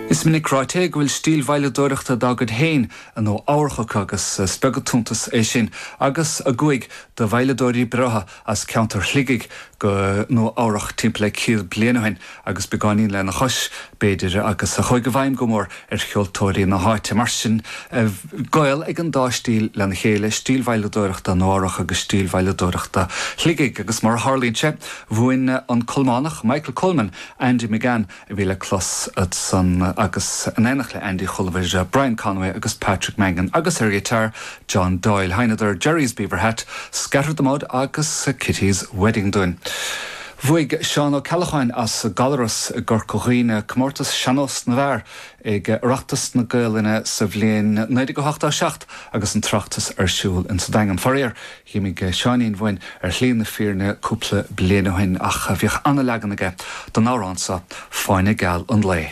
Is minic ráite go bhfuil stíl veidhleadóireachta dá gcuid féin i Nua Eabhrach acu agus is beag an t-iontas é sin agus a gcuaigh de veidhleadóirí breátha as ceantar Shligigh go Nua Eabhrach timpeall le 100 bliain ó shin agus beagáinín lena chois, b'fhéidir, agus a chuaigh i bhfeidhm go mór ar cheoltóirí na háite. Mar sin, gaol ag an dá stíl lena chéile, stíl veidhleadóireachta Nua Eabhrach agus stíl veidhleadóireachta Shligigh. Agus mar a tharlaíonn sé, mhúin an Colmánach Michael Coleman Andy McGann a bhí le clos ansan agus in éineacht le Andy chualamar Brian Conway agus Patrick Mangan agus ar ghiotár John Doyle. Sheinneadar Jerry's Beaver Hat, Scatter the Mud agus Kitty's Wedding dúinn. Bhuaigh Seán Ó Ceallacháin as Gallaras i gCorca Dhuibhne comórtas Sean-Nós na bhFear ag Oireachtas na Gaelainne sa bhliain 1987 agus an tOireachtas ar siúl insa Daingean. Faraor, Dh'imigh Seáinín uainn ar shlí na fírinne cúpla bliain ó shin ach bhíodh ana-leagan aige den amhrán seo, Fáinne Geal an Lae.